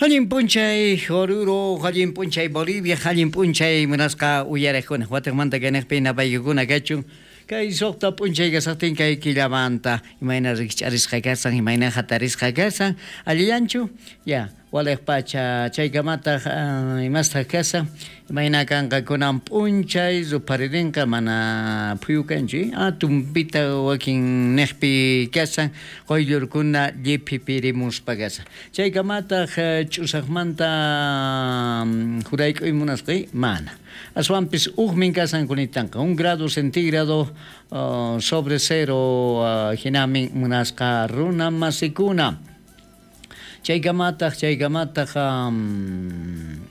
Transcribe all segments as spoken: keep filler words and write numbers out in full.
Allin p'unchay Oruro, allin p'unchay Bolivia, allin p'unchay munasqa uyariqkuna. Watiqmanta kayniqpi napaykikuna kachun. Kay suqta p'unchay kasaqtin kay killamanta imayna rikch'arisqa kasan, imayna hatarisqa kasan, allillanchu? Ya, waliq pacha chaykamataq uh, imastaq kasan, imayna kanqa kunan p'unchay rupharirinqa mana phuyu kanchu, ah, tumpita wakin niqpi kasan, quyllurkuna lliphipirimuspa kasan. Chaykamataq uh, ch'usaqmanta um, jurayk'uy munasqay mana. Aswanpis hukmin kasan kunitanqa, un grado centígrado uh, sobre cero uh, hinamin munasqa runa masikuna. Chaykamataq, chaykamataq um,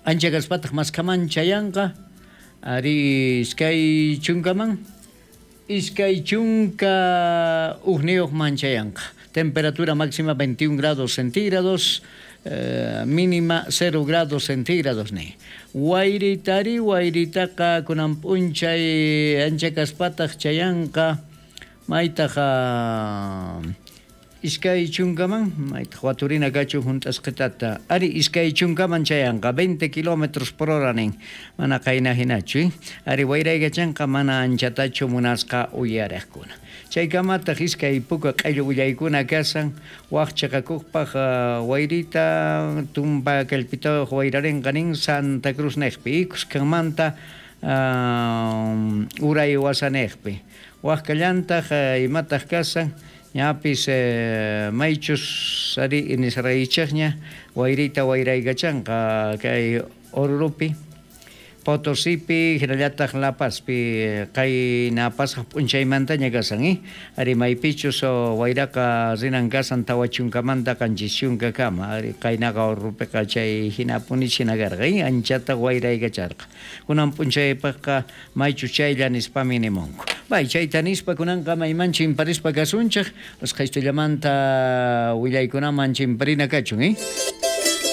ancha kaspataq maskaman chayanqa, ari iskay chunkaman, iskay chunka hukniyuqman chayanqa. Temperatura máxima veintiún grados centígrados, eh, mínima cero grados centígrados ni. Wayritari, wayritaqa kunan p'unchay ancha kaspataq chayanqa, maytaqa iskay chunkaman, maytaq waturina kachu hunt'asqitata, ari iskay chunkaman chayanqa, veinte kilómetros por hora nin, mana qayna hinachu, eh? Ari wayraykachanqa mana anchatachu munasqa uyariqkuna. Chaykamataq iskay puka q'illu willaykuna kasan, waq chiqakuqpaq uh, wayrita tumpa kallpitayuq wayrarinqa nin Santa Cruz niqpi, kuskanmanta uh, uray wasaniqpi. Waq kallantaq uh, imataq kasan, ñapis eh, maychus ari nisraychaqña wayrita wayraykachanqa kay Orurupi, Potosipi, hinallataq La Pazpi, qayna pasaq p'unchaymantaña kasan, eh? Ari maypichus wayraqa rinan kasan tawa chunkamanta qanchis chunkakama, ari qaynaqa Orurupiqa chay hinapuni china karqa, eh? Anchata wayraykacharqa. Kunan p'unchaypaqqa maychus chaylla nispami nimunku. Bay, chayta nispa kunanqa mayman chimparispa kasunchik, usqhaystullamanta willaykunaman chimparina kachun, eh?